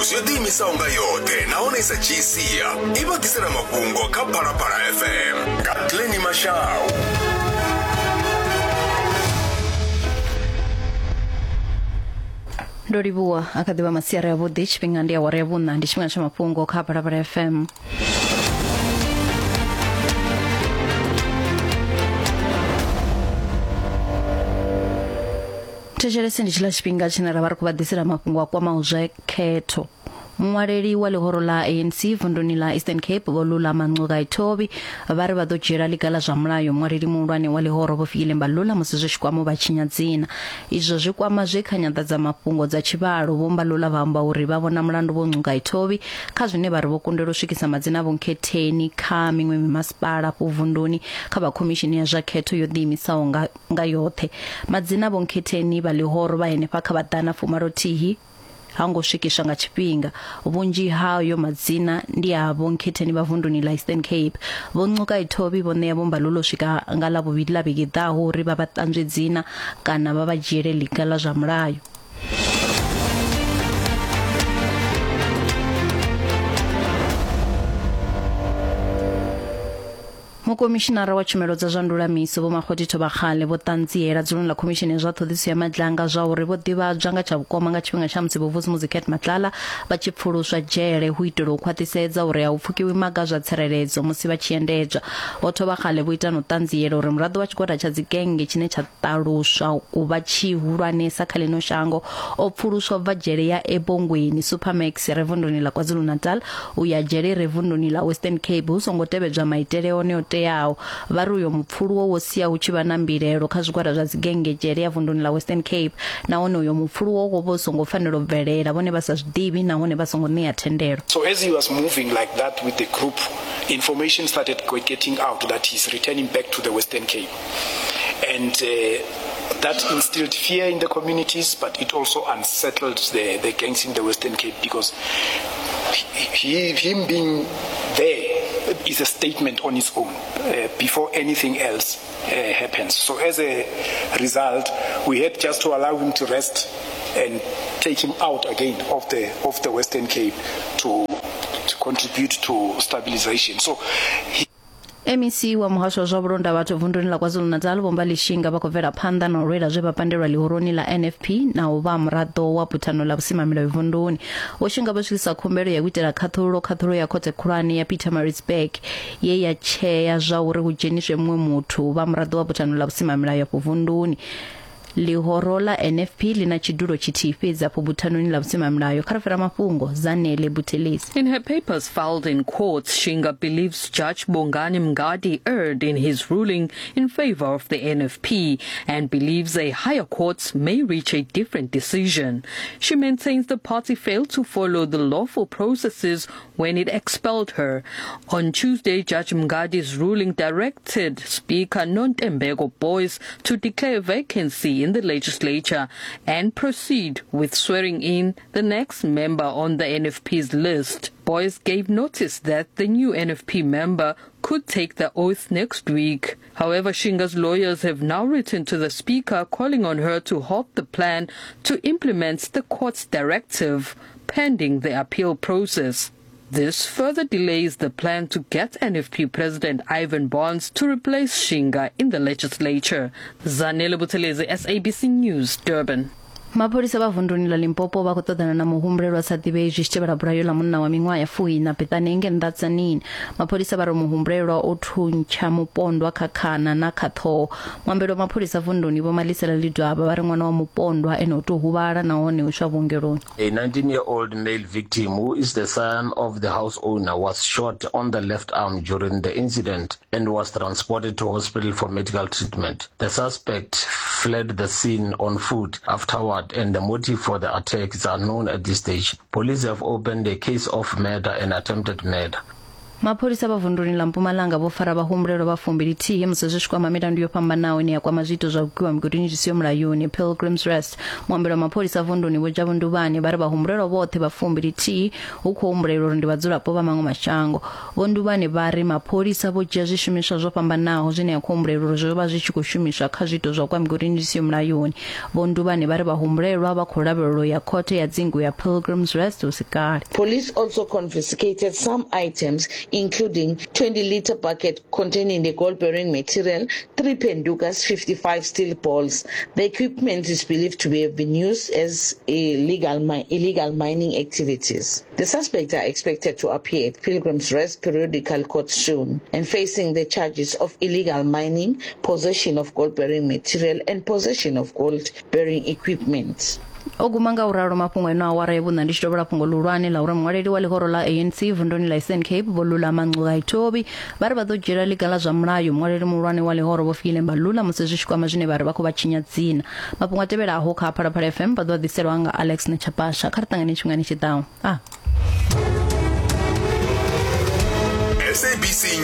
News yo ḓiimisaho nga yoṱhe nahone i sa dzhii sia i vha ḓisela mafhungo kha Phalaphala FM nga Glenny Mashau. Ndo livhuwa a kha ḓivha masiari avhuḓi tshifhinga ndi awara ya vhuṋa ndi tshifhinga tsha mafhungo kha Phalaphala FM. Thetshelese ndi tshiḽa tshifhinga tshine ra vha ri khou vha ḓisela mafhungo a kwamaho zwa khetho. Muṅwaleli wa ḽihoro ḽa ANC vunduni ḽa Eastern Cape Vho Lulama Ngcukaitobi vha ri vha ḓo dzhiela ḽiga ḽa zwa mulayo muṅwaleli muhulwane wa ḽihoro Vho Fikile Mbalula musi zwi tshi kwama u vha tshinya dzina. Izwo zwi kwama zwe kha nyanḓadzamafhungo dza tshivhalo Vho Mbalula vha amba uri vha vhona mulandu Vho Ngcukaitobi kha zwine vha ri vho kundelwa u swikisa madzina a vhonkhetheni kha miṅwe mimasipala afho vunduni kha vha khomishini ya zwa khetho yo ḓiimisaho nga nga yoṱhe. Madzina a vhonkhetheni vha ḽihoro vha henefha kha vha ḓana fumalothihi ha ngo swikiswa nga tshifhinga. Vhunzhi hayo madzina ndi a vhonkhetheni vha vunduni ḽa Eastern Cape. Vho Ngcukaitobi vho ṋea Vho Mbalula u swika nga Ḽavhuvhili ḽa vhege i ḓaho uri vha vha ṱanzwe dzina kana vha vha dzhiele ḽiga ḽa zwa mulayo. Mukomishinara wa tshumelo dza zwa ndulamiso Vho Makgoti Thobakgale vho ṱanziela dzuloni ḽa khomishini ya zwa ṱhoḓisiso ya Madlanga zwa uri vho ḓivhadzwa nga tsha vhukoma nga tshifhinga tsha musi Vho Vusimuzi Cat Matlala vha tshi pfuluswa dzhele hu itela u khwaṱhisedza uri a hu pfukiwi maga a zwa tsireledzo musi vha tshi endedzwa. Vho Thobakgale vho ita na u ṱanziela uri muraḓo wa tshigwada tsha dzigennge tshine tsha ṱaluswa u vha tshihulwanesa kha ḽino shango o pfuluswa u bva dzhele ya Ebongweni Supermax i re vunduni ḽa KwaZulu-Natal u ya dzhele i re vunduni ḽa Western Cape hu songo tevhedzwa maitele one o teaho. Vha ri uyo mupfuluwo wo sia hu tshi vha na mbilaelo kha zwigwada zwa dzigennge dzhele ya vunduni ḽa Western Cape nahone uyo mupfuluwo wo vha u songo fanela u bvelela vhone vha sa zwi ḓivhi nahone vha songo ṋea thendelo. So as he was moving like that with the group, information started getting out that he's returning back to the Western Cape. And uh, that instilled fear in the communities, but it also unsettled the, the gangs in the Western Cape because he, him being there is a statement on its own uh, before anything else uh, happens. So as a result, we had just to allow him to rest and take him out again of the of the Western Cape to to contribute to stabilization. So he MEC wa muhasho wa zwa vhulonda vhathu vunduni ḽa KwaZulu-Natal Vho Mbali Shinga vha khou bvela phanḓa na u lwela zwe vha pandelwa ḽihoroni ḽa NFP na u vha muraḓo wa buthano ḽa vhusimamilayo vunduni. Vho Shinga vho swikisa khumbelo ya u itela khaṱhululo khaṱhulo ya khothe khulwane ya Pietermaritzburg ye ya tshea zwa uri hu dzheniswe muṅwe muthu u vha muraḓo wa buthano ḽa vhusimamilayo afho vunduni. Ḽihoro ḽa NFP ḽi na tshidulo tshithihi fhedzi afho buthanoni ḽa vhusimamilayo. Kha ri fhira mafhungo, Zanele Buthelezi. In her papers filed in court, Shinga believes Judge Bongani Mngadi erred in his ruling in favor of the NFP and believes a higher court may reach a different decision. She maintains the party failed to follow the lawful processes when it expelled her. On Tuesday, Judge Mngadi's ruling directed Speaker Nontembeko Boyce to declare vacancy in the legislature and proceed with swearing in the next member on the NFP's list. Boyce gave notice that the new NFP member could take the oath next week. However, Shinga's lawyers have now written to the speaker calling on her to halt the plan to implement the court's directive pending the appeal process. This further delays the plan to get NFP President Ivan Barnes to replace Shinga in the legislature. Zanele Buthelezi, SABC News, Durban. Mapholisa vha vunduni ḽa Limpopo vha khou ṱoḓana na muhumbulelwa a sa ḓivhei zwi tshi tevhela bulayo ḽa munna wa miṅwaha ya fuiṋa Bethany nge nnḓa Tzaneen. Mapholisa vha ri muhumbulelwa o thuntsha mupondwa kha khana na kha ṱhoho. Muambeli wa mapholisa vunduni Vho Malisela Ledwaba vha ri ṅwana wa mupondwa ene o tou huvhala nahone u iswa vhuongeloni. A 19-year-old male victim who is the son of the house owner was shot on the left arm during the incident and was transported to hospital for medical treatment. The suspect fled the scene on foot afterward and the motive for the attack is unknown at this stage. Police have opened a case of murder and attempted murder. Mapholisa vha vunduni ḽa Mpumalanga vho fara vhahumbulelwa vha 21 musi zwi tshi kwama milandu yo fhambanaho ine ya kwama zwiito zwa u gwiwa migodini zwi siho mulayoni. Pilgrims Rest, muambeli wa mapholisa vunduni Vho Jabu Nduvhani vha ri vhahumbulelwa vhoṱhe vha 21 hu khou humbulelwa uri ndi vhadzulapo vha maṅwe mashango. Vho Nduvhani vha ri mapholisa vho dzhia zwishumiswa zwo fhambanaho zwine ya khou humbulelwa uri zwo vha zwi tshi khou shumiswa kha zwiito zwa u kwa migodini zwi siho mulayoni. Vho Nduvhani vha ri vhahumbulelwa vha khou lavhelelwa u ya khothe ya dzingu ya Pilgrims Rest hu si kale. Police also confiscated some items including 20-litre bucket containing the gold-bearing material, 3 pendukas, 55 steel balls. The equipment is believed to have been used as illegal, mi illegal mining activities. The suspects are expected to appear at Pilgrim's Rest Periodical Court soon and facing the charges of illegal mining, possession of gold-bearing material and possession of gold-bearing equipment. O guma nga u ralo mafhungo eno awara ya vhuṋa ndi tshi tovhola fhungo ḽihulwane ḽa uri muṅwaleli wa ḽihoro ḽa ANC vunduni ḽa Eastern Cape Vho Lulama Ngcukaitobi vha ri vha ḓo dzhiela ḽiga ḽa zwa mulayo muṅwaleli muhulwane wa ḽihoro Vho Fikile Mbalula musi zwi tshi kwama zwine vha ri vha khou vha tshinya dzina. Mafhungo a tevhelaho kha Phalaphala FM vha ḓo a ḓiselwa nga Alex Nechapasha. Kha ri ṱangane tshifhingani tshi ḓaho. A. SABC.